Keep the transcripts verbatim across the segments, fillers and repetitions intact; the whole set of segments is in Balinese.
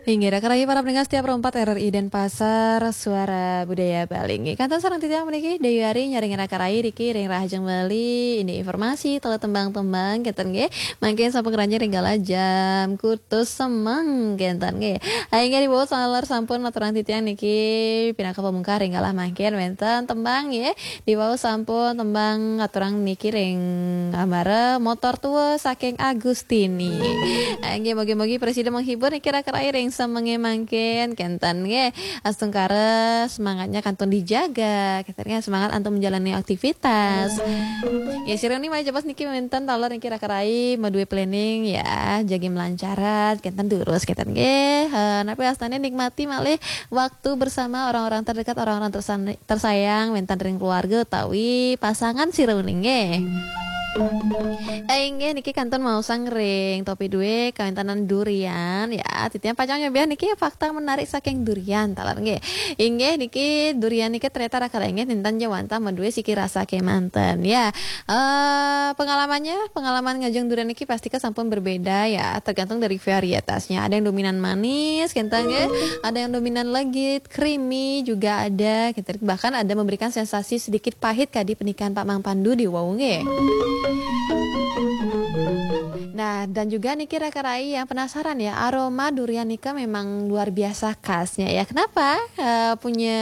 Inggih, Raka Rai para pendengar setia Pro empat R R I Denpasar, Suara Budaya Bali. Inggih, kantun sareng titiang puniki, Dewi Ari nyarengin Raka Rai niki ring rahajeng Bali, indik informasi, taler tembang-tembang, kenten nggih. Mangkin sampun ngranjing ring galah jam kutus semeng, kenten nggih. Inggih, diwau taler sampun aturang titiang niki pinaka pamungkah ring galah mangkin wenten tembang nggih. Diwau sampun tembang aturang niki ring ambara Motor Tua saking Agustini. Inggih, mugi-mugi prasida menghibur niki Raka Rai ring semenge mangkin, kenten nggih. Astungkara semangatnya kantun dijaga, kenten nggih, semangat antuk menjalani aktivitas. Ya, sira niki malih jebos niki wenten taler niki Raka Rai madué planning ya, jagi melancaran, kenten durus, kenten nggih. Eh, napi wastane nikmati malih waktu bersama orang-orang terdekat, orang-orang tersan-, tersayang, wenten ring keluarga utawi pasangan sira uning nggih. Eh, inggih niki kantun maosang ring topi dué kawéntenan durian ya. Titiang pacang nyobiah niki fakta menarik saking durian taler nggih. Inggih niki durian niki ternyata Raka Rai nggih nénten ja wantah madué siki rasa kemanten ya. Eh, pengalamannya, pengalaman ngajeng durian niki pastika sampun berbeda ya, tergantung dari varietasnya. Ada yang dominan manis, kenten nggih. Ada yang dominan legit, creamy juga ada, kenten. Bahkan ada memberikan sensasi sedikit pahit kadi pernikahan Pak Mang Pandu diwau nggih. Nah, dan juga niki Raka Rai yang penasaran ya, aroma durian nika memang luar biasa khasnya ya. Kenapa? Eh, punya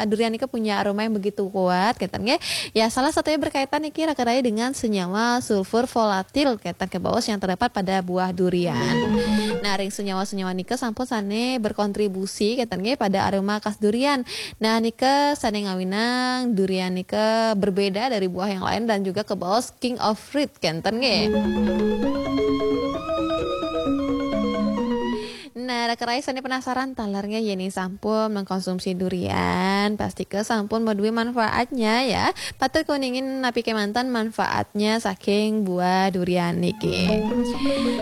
durian nika punya aroma yang begitu kuat, kenten nggih. Ya, salah satunya berkaitan niki Raka Rai dengan senyawa sulfur volatil kenten kebaos yang terdapat pada buah durian. Nah, ring senyawa-senyawa nika sampun sane berkontribusi kenten nggih pada aroma khas durian. Nah, nika sane ngawinang durian nika berbeda dari buah yang lain dan juga kebaos king of fruit kenten nggih. Nah, Raka Rai sane penasaran taler nggih, yen sampun mengkonsumsi durian, pastika sampun madué manfaatnya ya. Patut kuningin napi kemanten manfaatnya saking buah durian niki.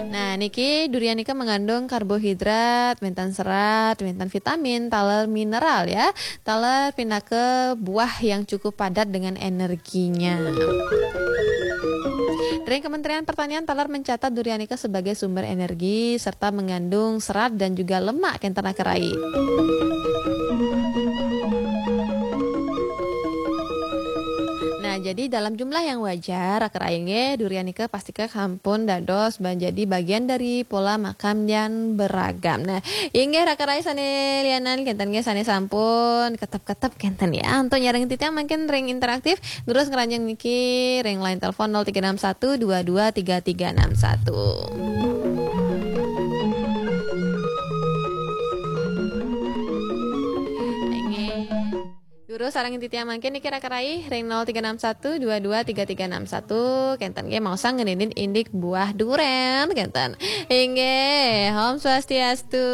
Nah, niki durian nika mengandung karbohidrat, wenten serat, wenten vitamin, taler mineral ya. Taler pinaka buah yang cukup padat dengan energinya. Ring Kementerian Pertanian taler mencatat durian nika sebagai sumber energi serta mengandung serat dan juga lemak kenten Raka Rai. Nah, jadi dalam jumlah yang wajar, Raka Rai nggih, durian nika pastika sampun dados menjadi bagian dari pola makan yang beragam. Nah, inggih Raka Rai sane lianan kenten nggih sane sampun ketep-ketep kenten ya. Antuk nyarengin titiang mangkin ring interaktif, durus ngranjing niki ring line telepon nol tiga enam satu dua dua tiga tiga enam satu. Inggih. Durus sareng titiang mangkin niki Raka Rai ring nol tiga enam satu dua dua tiga tiga enam satu, kenten nggih maosang ngeninin indik buah duren kenten. Inggih, Om Swastiastu.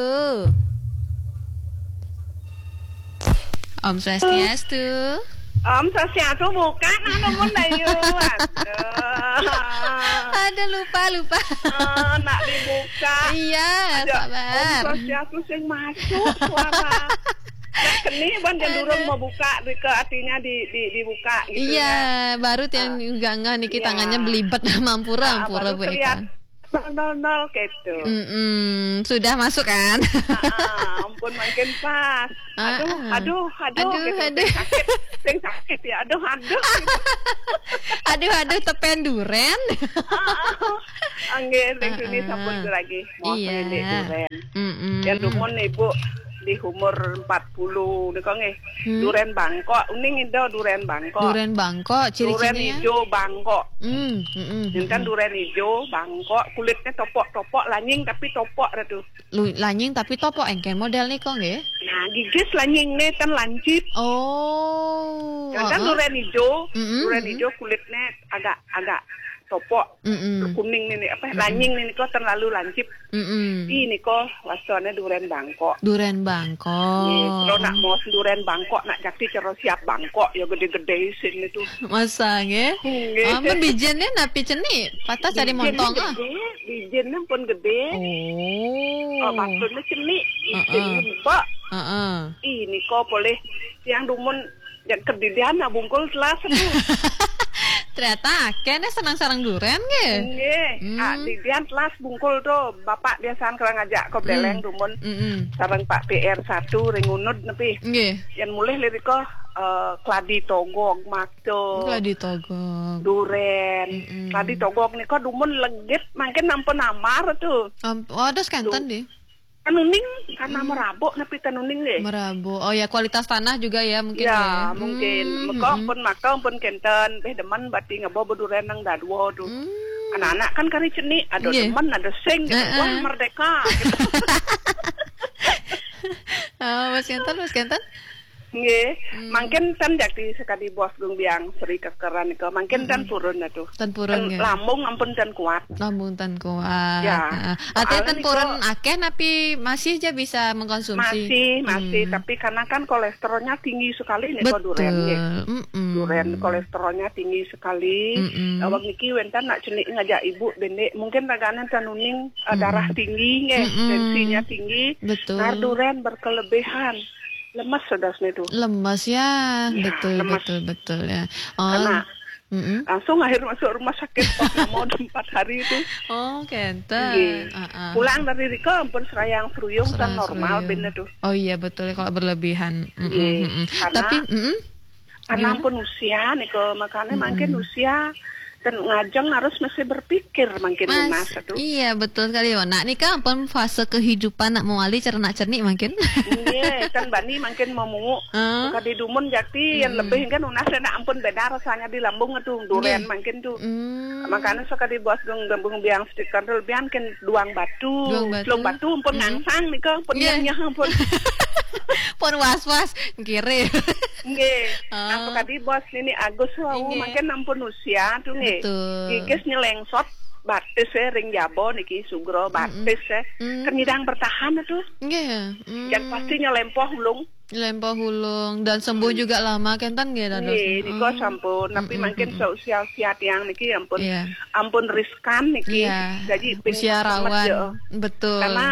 Om Swastiastu. Om Swastiastu, buka nak nomor Dayu. Aduh. Aduh, lupa, lupa. Eh, nak dibuka. Iya, aduh, sabar. Om Swastiastu sing masuk suara. Nah, keni ban jan durung mau buka, ke artinya di, di, dibuka gitu. Iya, ya. Baru tiang juga nggak niki, iya, tangannya belibet, mampura, ah, ampura baru Bu Eka. Nol nol nol gitu. Mm-mm, sudah masuk kan? Ah, ah, ampun, makin pas. Ah, aduh, ah, aduh, aduh, aduh, gitu. Aduh. Sing sakit, sing sakit ya. Aduh, aduh. Gitu. Aduh, aduh, tepen duren. Ah, ah. Anggih, ring sini sampun lagi. Iya. Duren. Mm-mm. Yang dumun ibu di umur empat puluh nika nggih. Hmm. Duren bangkok, uning ida duren bangkok. Duren bangkok, ciri-cirinya? Duren ijo bangkok. Hmm, mm-mm. Enten duren ijo bangkok, kulitnya topok-topok, lanying tapi topok dah tu. Lu-, lanying tapi topok engken model nika nggih. Nah, gigis lanying ni ten lancip. Oh, enten, heeh, duren ijo, mm-mm, duren ijo kulitnya agak, agak topok. Mm-mm. Kuning ni, ni, apa, mm-mm, lanying ni, ni kok terlalu lancip. Mm-mm. Ini kok wastane duren bangkok. Duren bangkok. Nggih, terus nak mau duren bangkok, nak jati terus siap bangkok, ya gede-gede isin itu. Masa nggih? Nggih. Ampun, bijine napi cenik? Patah tadi bijine montong, ah. Gede, bijine pun gede. Oh. Oh, maksudnya cenik, isin, heeh, lembek. Heeh. Ini kok boleh yang dumun yang kedidian nak bungkul selas itu. Ternyata akeh ne seneng sareng duren nggih. Nggih, Hmm. ah, di dian telas bungkul tu, bapak biasaan kala ngajak ko beleng Hmm. dumun. Mm-mm. Sareng Pak P R satu ring Unud nepi. Nggih. Yen mulih lirika, eh, kladi togog, makto. Kladi togog. Duren. Mm-mm. Kladi togog nika dumun legit, mangkin ampun amar tu. Am-, oh, ada sekanten Tu. deh. Tanuning, tanah Hmm. merabuk nepi tanuning nggih. Merabuk. Oh ya, kualitas tanah juga ya mungkin Ya, ya. mungkin. Hmm, Meka hmm. pun maka pun kenten, beh demen bati ngebo beduren nang dadua tu. Hmm. Anak-anak kan kari cenik, ada Nggih. demen, ada sing, gitu. Heeh. Wah, merdeka. Gitu. Oh, Mas Kenten, Mas Kenten? Nggih, Hmm. mangkin tan jakti sekadi bos gung biang Sri Kekeran nika, mangkin tan Hmm. purun atuh. Tan purun Tan nggih. lambung ampun tan kuat. Lambung tan kuat. Ya. Heeh. Artinya Soalnya tan nika purun akeh napi masih aja bisa mengkonsumsi. Masih, masih, Hmm. tapi karena kan kolesterolnya tinggi sekali nih kok duren nggih. Betul. Mm-mm. Duren kolesterolnya tinggi sekali. Mm-mm. Awak niki wenten nak cenik ngajak ibu dendik, mungkin raganan tanuning, eh, Mm-mm. darah tinggi nggih, Mm-mm. tensinya tinggi. Betul. Nar duren berkelebihan. Lemes sedasnya tu. Lemes ya, Ya, betul, lemes. betul, betul ya. Oh. Karena Mm-mm. langsung akhir masuk rumah sakit, oh, mau ada empat hari itu. Oh, kenten. Nggih. Ah, ah. Pulang dari rika ampun serayang seruyung kan Serayang normal seruyung. benda tu. Oh iya, betul ya, kalau berlebihan. Mm-mm, Nggih. mm-mm. Karena Tapi, mm-mm. Karena Gimana? ampun usia nika, makanya Mm-mm. mangkin usia dan ngajeng harus mesti berpikir mangkin Mas, lunas tu. Iya, betul sekali, Wan. Nak nika ampun fase kehidupan nak mewali cernak-cernik mangkin. Nggih, kan bani mangkin mau Heeh. Kadi dumun jakti yang Mm-mm. lebih kan nunas nak ampun beda rasanya di lambung tu, duren Nggih. mangkin tu. Mm. Makanya sekali bos gung gembung biang stiker tu, biang ken duang batu. Duang batu. Duang batu ampun Mm-mm. ngangsang nika, ampun Nggih. nyah, nyah ampun. Pun was-was, kiri. Nggih. Ah. Nah, sekali bos nini Agus wau, Nggih. mangkin ampun usia tu nggih. Betul. Gigis nyelengsot, batis eh, ring jaba niki, sugra, Mm-mm. batis eh. Mm. Kan nyidang bertahan tu. Nggih. Mm. Yang pasti nyelempoh ulung. Nyelempoh ulung dan sembuh Hmm. juga lama kenten nggih dados. Nggih, nika Oh. sampun. Tapi Mm-mm, mangkin mm-mm. seusia-usia tiang niki ampun, Iya. ampun riskan niki. Iya. Jadi ping Usia semet rawan. ya. Betul. Karena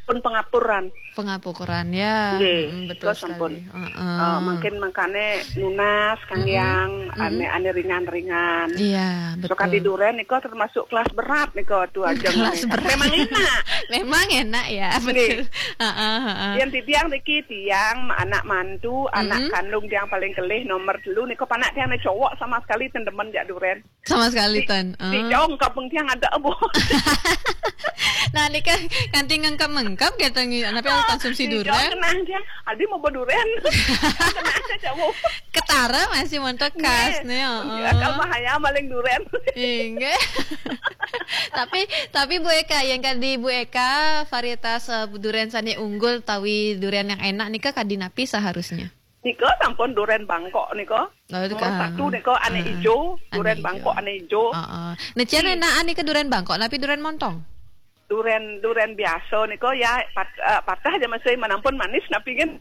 pun pengapuran. Pengapuran ya. Nggih, Mm-mm, betul nika sampun. sekali. Heeh. Eh, mungkin makane nunas kang Mm-mm. yang Mm-mm. ane, ane ringan-ringan. Iya, So kadi betul. duren nika termasuk kelas berat nika tu aja. Kelas berat. Memang enak. Memang enak ya, Nggih. betul. Heeh, heeh. Yang titiang niki tiang anak mantu, anak Mm-mm. kandung tiang paling kelih nomor telu nika panak tiang ne cowok sama sekali ten demen jak duren. Sama sekali Di, ten. di Ah. jauh kampung tiang ada, Bu. Nah, nika kanti ngengkep-ngengkep kata ngi-, napi Ah, konsumsi di jauh duren? kenang tiang, adi mau beduren. Kenang aja, Bu. Ketara masih montok khas Nggih. nih, heeh. Akal bahaya maling duren. Inggih. Tapi, tapi Bu Eka, yang kadi Bu Eka, varietas, eh, duren sane unggul tawi duren yang enak nika kadi napi seharusnya? Nika sampun duren Bangkok nika. Oh, Nomor ka- satu nika ane heeh. ijo, Ane duren ijo. Bangkok ane ijo. Heeh. Necian Ih. enakan nika duren Bangkok, napi duren montong? Duren, duren biasa nika ya pat-, eh, patah aja masih menampun manis napi kan.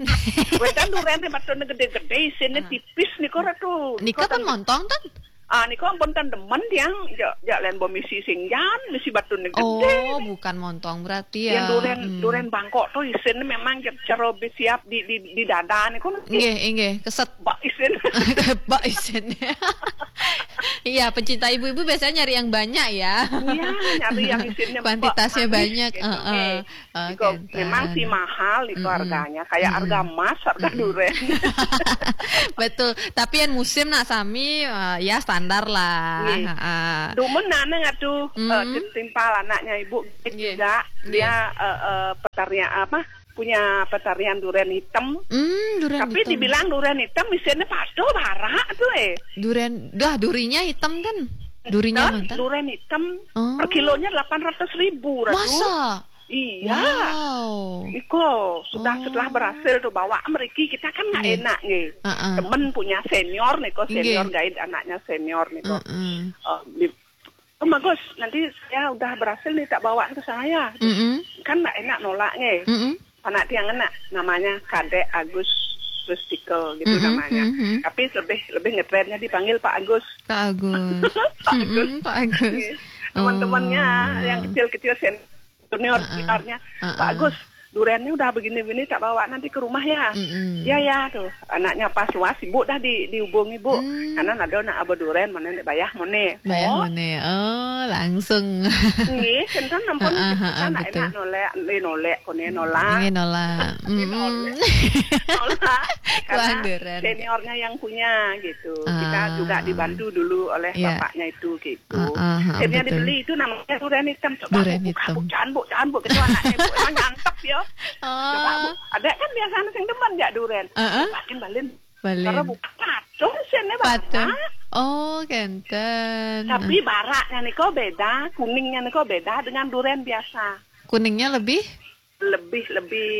Wetan duren ni patutnya gede-gede, isinnya Ah. tipis nika ratu. Nika Nika kan ten- montong ten? Ah, nika ampun ten demen tiang, jak, jak len bo misi singjan, misi batu ni gede. Oh, bukan montong berarti Yang ya. duren, Hmm. duren Bangkok tu isinnya memang jak cara siap di, di, di dada ni kan. Nggih, nggih, keset. Bak isin. Bak isin. Iya, pencinta ibu-ibu biasanya nyari yang banyak ya. Iya, nyari yang isinnya Kuantitasnya bak manis banyak, gitu. heeh. Nggih. Oh, Iko kenten. memang sih mahal iko Mm-mm. harganya, kayak Mm-mm. harga emas, harga Mm-mm. duren. Betul. Tapi yang musim nak sami, eh, ya standar lah. Nggih. Heeh. Dumun nana ngatu, eh, Mm-mm. tim-, timpal anaknya ibu Nggih. juga. Nggih. Dia, eh, eh, petarian apa? Punya petarian duren hitam. Hmm, duren Tapi hitam. dibilang duren hitam, isinya patuh barak tu eh. Duren, dah durinya hitam kan? Durinya Hitam, mantan? duren hitam Oh. per kilonya delapan ratus ribu, Ratu. Masa? Iya. Wow. Iko sudah Oh. setelah berhasil tu bawa meriki, kita kan nggak Nggih. enak nih. Heeh. Temen punya senior nih kok, Nggih. senior guide anaknya senior nih kok. Heeh. Eh, di, "Oh, bagus, nanti saya udah berhasil nih tak bawa ke saya." Mm-mm. Kan nggak enak nolak nih. Mm-mm. Anak tiang enak, namanya Kadek Agus Rustika gitu Mm-mm, namanya. mm-mm. Tapi lebih, lebih ngetrennya dipanggil Pak Agus. Pak Agus. Pak Agus. Mm-mm, Pak Agus. Iya. Teman-temannya Oh. yang kecil-kecil sen-, junior Heeh. juniornya, Heeh. "Pak Agus, Durennya udah begini-begini, tak bawa nanti ke rumah ya. Mm-mm. Ya, ya, tuh. Anaknya pas luas, ibu dah di, dihubungi, Bu. Hmm. Karena ada nak aba duren, mana nak bayah, mana. Bayah, oh, mana. Oh, langsung. Nggih, kenten ampun, heeh, heeh, kan enak betul. Nolak, eh, nolak, kone nolak. Nggih, nolak. Nggih, nolak. Mm-mm. Nolak. Karena seniornya yang punya, gitu. Kita juga dibantu dulu oleh bapaknya itu, gitu. Ah, ah, ah, akhirnya betul. Dibeli itu namanya duren hitam. Coba, duren hitam. Bu, Bu, jangan, Bu, jangan, Bu. Gitu anaknya, Bu. Emang nyantep ya. Oh. Coba, Bu. Ada kan biasanya sing demen ya duren. Heeh. Coba, kan balen. Balen. Karena buka patung sini, Bang. Patung. Oh, kenten. Tapi baraknya nih kok beda, kuningnya nih kok beda dengan duren biasa. Kuningnya lebih? Lebih, lebih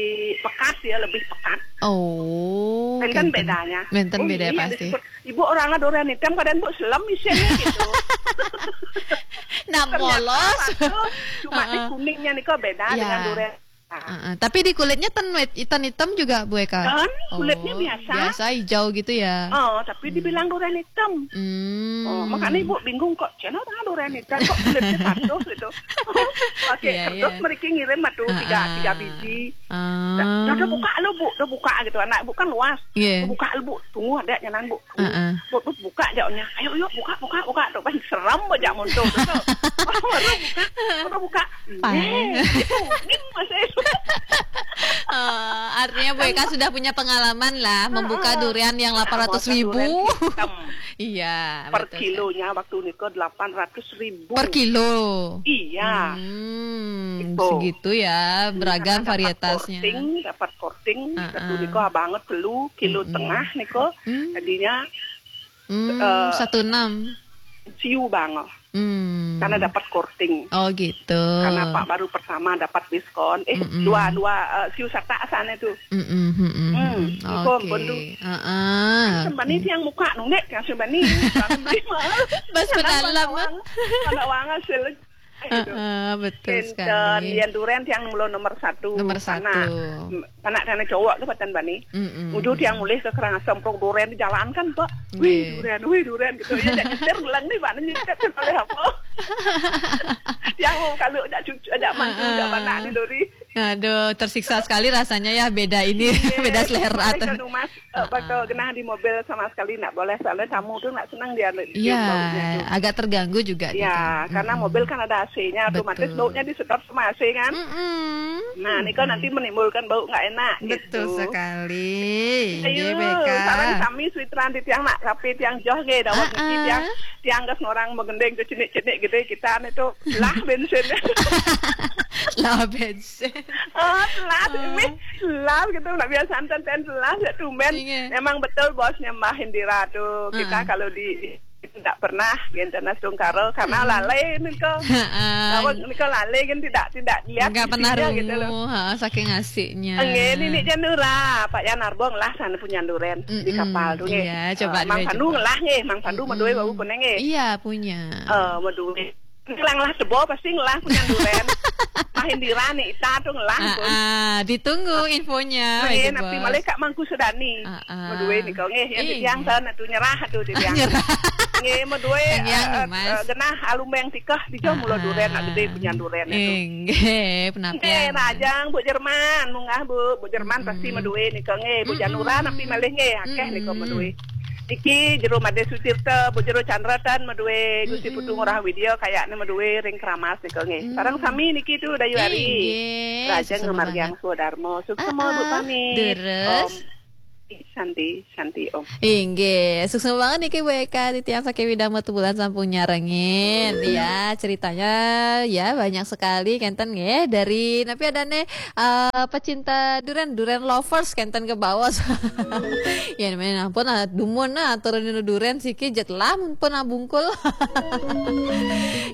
pekat ya, lebih pekat. Oh, kenten. Bedanya. Kenten. Oh, beda iya, pasti. Disebut, "Ibu, orangnya duren hitam, kadang Bu selem isinya," gitu. Nah, ternyata polos. Satu, cuma di kuningnya nih kok beda dengan duren. Heeh. Tapi di kulitnya ten, hitam-hitam juga, Bu Eka? Kan, kulitnya biasa. Oh, biasa hijau gitu ya? Oh, tapi dibilang duren hitam. Hmm. Oh, makanya Ibu bingung kok, "Cina orang duren hitam, kok kulitnya patuh?" Gitu. Pakai kertas, iya, mereka ngirim atuh tiga, tiga biji. Ah. Dah, dah, dah buka lu, Bu, dah buka gitu. Anak Ibu kan luas. Iya. Buka lu, Bu, tunggu ada nyanan, Bu. Heeh. Bu, Bu, buka jawabnya. "Ayo, yuk, buka, buka, buka." Tuh kan serem aja muncul tuh. Baru buka, baru buka. Pang. Eh, itu, ini masih. Eh, artinya Bu Eka sudah punya pengalaman lah, membuka durian yang delapan ratus ribu. Durian hitam. Iya, betul sekali. Per kilonya waktu nika delapan ratus ribu. Per kilo? Iya. Hmm, gitu. Segitu ya, beragam varietasnya. Dapat korting, dapat korting, satu nika banget telu, kilo tengah nika. Hmm. Jadinya, hmm, eh, satu enam. Siu banget. Hmm. Karena dapat korting. Oh, gitu. Karena Pak baru pertama dapat diskon. Eh, dua, dua, eh, siu satak sana tuh. Mm-mm, mm-mm. Hmm, iko ampun tuh. Heeh. Sembani tiang muka nundek, yang sembani. Bas penalam. Ada wangan sel. Heeh, betul sekali. Yen duren tiang mula nomor satu. Nomor satu. Anak, anak cowok tuh patan bani. Mm-mm. Uju tiang mulih ke Karangasem, prok duren di jalan kan, Pak. Wih, duren, wih, duren gitu. Ya, jak nyetir ulang nih, Pak, nyetir oleh apa? Tiang mau kalau jak cucu, jak mantu, jak anak nih, Dori. Aduh, tersiksa sekali rasanya ya, beda ini, beda selera. Iya, tuh. Mas, eh, bakal genah di mobil sama sekali nggak boleh, soalnya tamu tuh nggak senang dia, dia baunya tuh. Iya, agak terganggu juga gitu. Iya, karena mobil kan ada A C-nya, otomatis baunya disedot sama A C kan. Mm-mm. Nah, ini kan nanti menimbulkan bau nggak enak gitu. Betul sekali. Ayo, sareng sami suitran di tiang nak, tapi tiang joh nggih, dawet niki tiang, tiang gas ngorang menggending ke cenik-cenik gitu, kita nih tuh lah bensin. Lah bensin. Oh, telat, ini telat gitu, nggak biasa ten ten telat, ya tumben. Iya. Memang betul bosnya Mbah Indira tuh, kita kalau di, di, tidak pernah, gitu, nah, sungkara, karena lalai nih kok. Heeh. Lawan nih kok lalai kan tidak, tidak lihat isinya gitu loh. Nggak pernah rungu, heeh, saking asiknya. Nggih, ini nih Janura, Pak Yan Arbong lah sana punya duren di kapal tuh, nggih. Iya, coba. Eh, Mang Pandu ngelah nggih, Mang Pandu meduwe wau kuning nggih. Iya, punya. Eh, meduwe. Ngelang lah sebo pasti ngelah punya duren. Mahin dirani, ita tuh ngelah pun. Ah, ah, ditunggu infonya. Nggih, napi malih Kak Mangku Sedani. Ah, ah. Meduwe nih kok nggih, yang tiang sana tuh nyerah tuh di tiang. Nyerah. Nggih, meduwe, yang, eh, Mas, eh, genah alumbeng tikah di jauh mula duren, nak gede punya duren itu. Nggih, penapian. Nggih, Rajang, Bu Jerman, munggah Bu, Bu Jerman pasti meduwe nih kok nggih, Bu Janura napi malih nggih, akeh nih kok meduwe. Iki Jero Made Sutirta, Bu Jero Chandra tan meduwe, Gusti Putu Ngurah Widya kayakne meduwe ring Keramas nika nggih. Sareng sami niki tu Dayu Ari. Inggih, Rajeng sukses Ngamargiang banget. Swadarma. Sukses Bu Pami. Deres. Om. Santi, Santi Om. Inggih, sukses banget niki Bu Eka, titiang saking Widang Batubulan sampun nyarengin. Ya, ceritanya ya banyak sekali kenten nggih, dari napi adane eh, pecinta durian, durian lovers kenten ke bawah. Ya, namanya ampun, ah, dumun, ah, turun durian siki jet lah pun, ah, bungkul.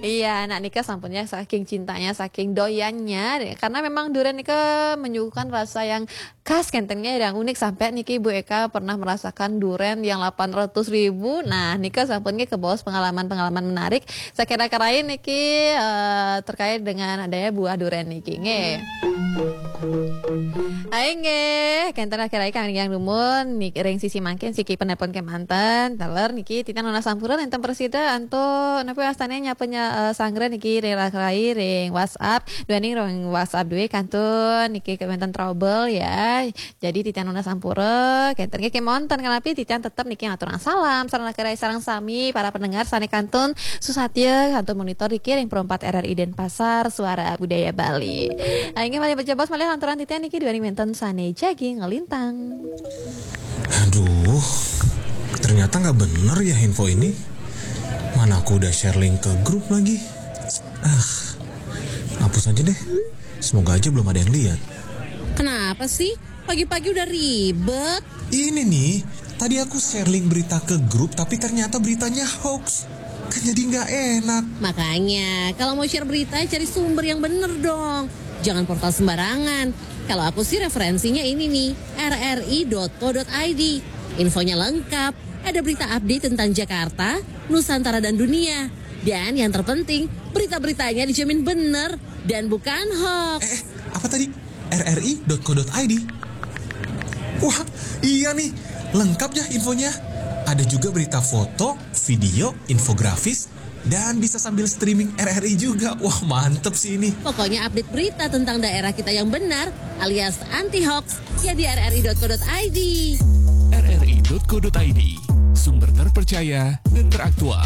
Iya, anak nikah sampunnya saking cintanya, saking doyannya. Karena memang durian nikah menyuguhkan rasa yang khas kenten nggih, yang unik sampai niki Bu Eka pernah merasakan duren yang delapan ratus ribu. Nah, nika sampun ke baos pengalaman-pengalaman menarik. Sakira-kira niki eh, terkait dengan adanya buah duren niki nggih. Ayo nggih, kenten akhir-akhir kang yang dumun niki ring sisi mangkin siki penelpon kemanten. Teler niki titiang nunas sampura enten presida antuk napa wastane nyapa nya, eh, sanggra niki ring rai ring WhatsApp. Duaning ring WhatsApp duwe kantun niki kemanten trouble ya. Jadi titiang nunas sampura, kenten nggih kemanten kanapi titiang tetep niki ngaturang salam sareng rai sareng sami para pendengar sane kantun susatya kantun monitor niki ring Pro empat R R I Denpasar Suara Budaya Bali. Ayo nggih malih bajebos malih lanturan titiang niki duaning wenten sane jagi ngelintang. Aduh, ternyata nggak bener ya info ini. Mana aku udah share link ke grup lagi. Ah, hapus aja deh. Semoga aja belum ada yang lihat. Kenapa sih? Pagi-pagi udah ribet. Ini nih, tadi aku share link berita ke grup tapi ternyata beritanya hoax. Kan jadi nggak enak. Makanya, kalau mau share berita, cari sumber yang bener dong. Jangan portal sembarangan. Kalau aku sih referensinya ini nih, R R I dot co dot I D. Infonya lengkap. Ada berita update tentang Jakarta, Nusantara dan dunia. Dan yang terpenting, berita-beritanya dijamin bener dan bukan hoax. Eh, apa tadi? R R I dot co dot I D. Wah, iya nih. Lengkap ya infonya. Ada juga berita foto, video, infografis, dan bisa sambil streaming R R I juga. Wah, mantep sih ini. Pokoknya update berita tentang daerah kita yang benar alias anti hoax ya di R R I dot co dot I D. R R I dot co dot I D, sumber terpercaya dan teraktual.